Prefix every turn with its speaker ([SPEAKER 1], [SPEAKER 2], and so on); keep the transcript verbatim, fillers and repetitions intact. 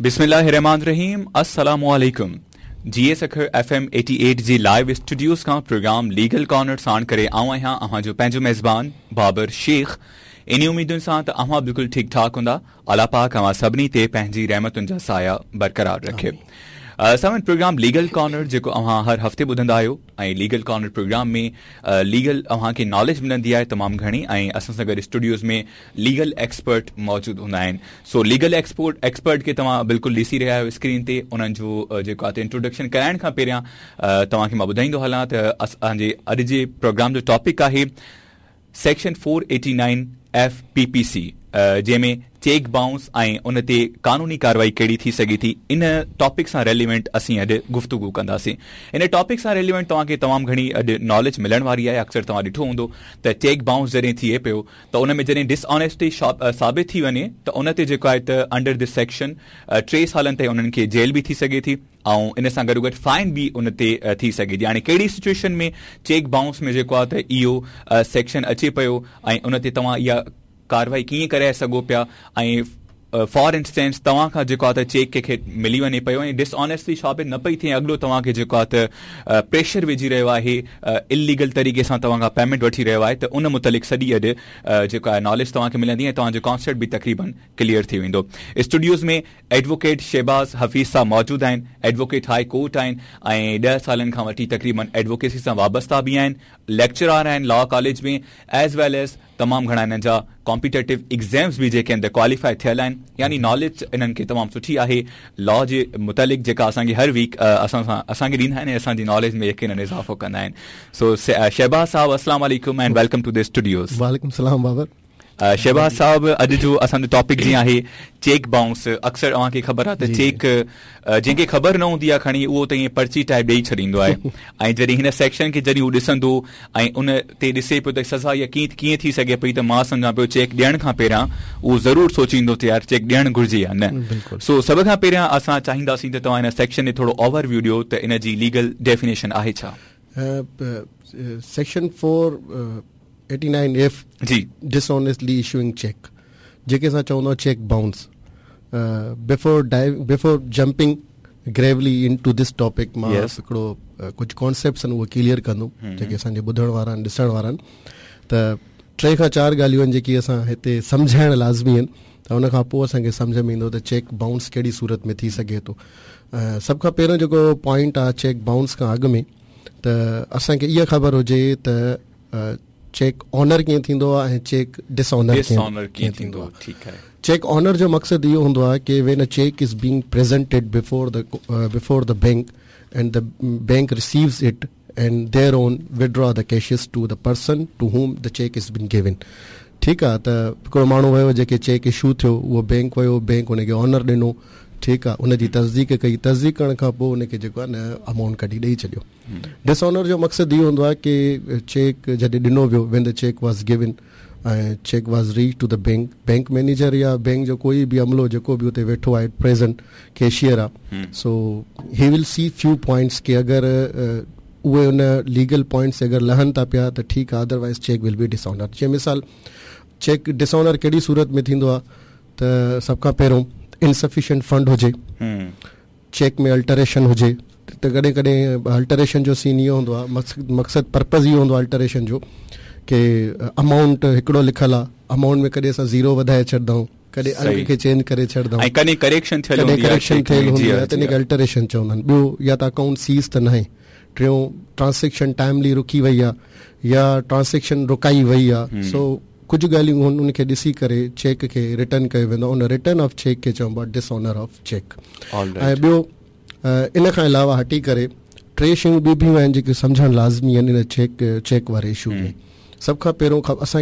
[SPEAKER 1] बिस्मिल्लाहिर्रहमानिर्रहीम। अस्सलाम वालेकुम। जी सखर एफ एम अठासी जी लाइव स्टूडियोज खां प्रोग्राम लीगल कॉर्नर साण करे आऊं आहियां अव्हां जो पंहिंजो मेज़बान बाबर शेख। इन उम्मीदुनि सां त अव्हां बिल्कुलु ठीकु ठाक हूंदा। अलाह पाक अव्हां सभिनी ते पंहिंजी रहमतुनि जा साया बरक़रार रखे। सामन प्रोग्राम लीगल कॉर्नर जेको अव्हां हर हफ़्ते ॿुधंदा आहियो ऐं लीगल कॉर्नर प्रोग्राम में लीगल अव्हां खे नॉलेज मिलंदी आहे तमामु घणी ऐं असां सां गॾु स्टूडियोज़ में लीगल एक्सपर्ट मौजूदु हूंदा आहिनि। सो लीगल एक्सपर्ट एक्सपर्ट खे तव्हां बिल्कुलु ॾिसी रहिया आहियो स्क्रीन ते। उन्हनि जो जेको आहे इंट्रोडक्शन कराइण खां पहिरियां तव्हांखे मां ॿुधाईंदो हलां त असांजे अॼु जे प्रोग्राम जो टॉपिक आहे section four eighty nine F P P C, जंहिंमें चेक बाउंस ऐं उन ते कानूनी कार्रवाई कहिड़ी थी सघे थी। इन टॉपिक सां रेलिवेंट असीं अॼु गुफ़्तगू कंदासीं। इन टॉपिक सां रेलिवेंट तव्हांखे तमामु घणी अॼु नॉलेज मिलण वारी आहे। अक्सर तव्हां ॾिठो हूंदो त चेक बाउंस जॾहिं थिए पियो त उन में जॾहिं डिसऑनेस्टी साबित थी वञे त उन ते जेको आहे त अंडर this section टे सालनि ताईं उन्हनि खे जेल बि थी सघे थी ऐं इन सां गॾोगॾु फाइन बि उन ते थी सघे थी। हाणे कहिड़ी सिचुएशन में चेक बाउंस में जेको आहे त इहो सेक्शन अचे पियो ऐं उन ते तव्हां इहा कार्रवाई कीअं करे सघो पिया ऐं फॉर इंस्टेंस तव्हां खां जेको आहे त चेक कंहिंखे मिली वञे पियो ऐं डिसऑनेस्टली साबित न पई थिए, अॻिलो तव्हांखे जेको आहे त प्रेशर विझी रहियो आहे, इलीगल तरीक़े सां तव्हां खां पेमेंट वठी रहियो आहे, त उन मुतालिक़ सॼी अॼु जेको आहे नॉलेज तव्हांखे मिलंदी ऐं तव्हांजो कॉन्सेप्ट बि तक़रीबन क्लियर थी वेंदो। स्टूडियोज़ में एडवोकेट शहबाज़ हफ़ीज़ साहब मौजूदु आहिनि, एडवोकेट हाई कोर्ट आहिनि ऐं ॾह सालनि खां वठी तक़रीबन एडवोकेसी सां वाबस्ता बि आहिनि, लेक्चरार आहिनि law college में, एज वेल एज तमामु घणा हिननि जा कॉम्पिटेटिव एग्ज़ाम्स बि जेके आहिनि त क्वालिफाई थियल आहिनि। यानी नॉलेज इन्हनि खे तमामु सुठी आहे लॉ जे मुतालिक़, जेका असांखे हर वीक असां सां असांखे ॾींदा आहिनि ऐं असांजी नॉलेज में यकीनन इज़ाफ़ो कंदा आहिनि। सो शहबाज़ साहब अस्सलाम वालेकुम and welcome to the studios.
[SPEAKER 2] वालेकुम सलाम बाबर।
[SPEAKER 1] शहबाज़ साहब, अॼु जो असांजो टॉपिक जीअं आहे चेक बाउंस, अक्सर तव्हांखे ख़बर आहे त चेक जंहिंखे ख़बर न हूंदी आहे खणी उहो त ईअं पर्ची टाइप ॾेई छॾींदो आहे ऐं जॾहिं हिन सेक्शन खे जॾहिं हू ॾिसंदो ऐं उन ते ॾिसे पियो त सज़ा इहा कीअं कीअं थी सघे पई, त मां सम्झां पियो चेक ॾियण खां पहिरियां उहो ज़रूरु सोचींदो त यार चेक ॾियणु घुरिजे या न। सो सभ खां पहिरियां असां चाहींदासीं त तव्हां हिन सेक्शन ते थोरो ओवरव्यू ॾियो त इन जी लीगल डेफिनेशन आहे छा।
[SPEAKER 2] Section four eighty nine F ji dishonestly issuing cheque, जेके असां चवंदा cheque bounce. Before dive before jumping gravely into this topic, मां हिकिड़ो कुझु कॉन्सेप्ट्स आहिनि उहे क्लियर कंदुमि जेके असांजे ॿुधण वारा आहिनि ॾिसण वारा आहिनि। त टे खां चारि ॻाल्हियूं आहिनि जेकी असां हिते सम्झाइण लाज़मी आहिनि, त उन खां पोइ असांखे सम्झ में ईंदो त चेक बाउंस कहिड़ी सूरत में थी सघे थो। सभ खां पहिरियों जेको पॉइंट आहे चेक बाउंस खां अॻु में, त असांखे इहा ख़बर हुजे त चेक ऑनर कीअं थींदो आहे ऐं चेक डिसऑनर कीअं थींदो आहे।
[SPEAKER 1] ठीकु आहे।
[SPEAKER 2] चेक ऑनर जो मक़सदु इहो हूंदो आहे की when a cheque is being presented before the before the bank and the bank receives it and their own withdraw the cashes to the person to whom the cheque is been given. ठीकु आहे, त हिकिड़ो माण्हू वियो जेके check issue थियो, उहो bank वियो, बैंक हुनखे ऑनर ॾिनो, ठीकु आहे, उनजी तस्दीक कई, तस्दीक करण खां पोइ हुनखे जेको आहे न अमाउंट कढी ॾेई छॾियो। डिसऑनर जो मक़सदु इहो हूंदो आहे की चेक जॾहिं ॾिनो वियो, when the cheque was given ऐं cheque was reach to the bank, bank manager या बैंक जो कोई बि अमलो जेको बि उते वेठो आहे प्रेजेंट कैशियर आहे, so he will see few points की अगरि उहे उन लीगल पॉइंट्स अगरि लहनि था पिया त ठीकु आहे, otherwise cheque will be dishonour. जीअं मिसाल चेक डिसऑनर कहिड़ी सूरत में थींदो आहे त सभ खां पहिरियों इनसफिशिएंट फंड हुजे, चेक में अल्टरेशन हुजे, त कॾहिं कॾहिं अल्टरेशन जो सीन इहो हूंदो आहे, मक़सदु पर्पज़ इहो हूंदो आहे अल्टरेशन जो की अमाउंट हिकिड़ो लिखियलु आहे, अमाउंट में कॾहिं असां ज़ीरो वधाए छॾंदा आहियूं, कॾहिं अंक खे चेंज करे छॾंदा आहियूं,
[SPEAKER 1] कॾहिं करेक्शन थियल
[SPEAKER 2] कॾहिं करेक्शन थियल हूंदी आहे त इन खे अल्टरेशन चवंदा आहिनि। ॿियो या त अकाउंट सीज़ त न आहे, टियों ट्रांज़ेक्शन टाइमली रुकी वई आहे या ट्रांज़ेक्शन रुकाई वई आहे। सो कुझु ॻाल्हियूं आहिनि उनखे ॾिसी करे चेक खे रिटर्न कयो वेंदो आहे, उन रिटर्न ऑफ चेक खे चइबो आहे डिसऑनर ऑफ चेक। ऐं ॿियो इन खां अलावा हटी करे टे शयूं ॿियूं बि आहिनि जेके सम्झणु लाज़मी आहिनि इन चेक चेक वारे इशू में। सभ खां पहिरियों असांखे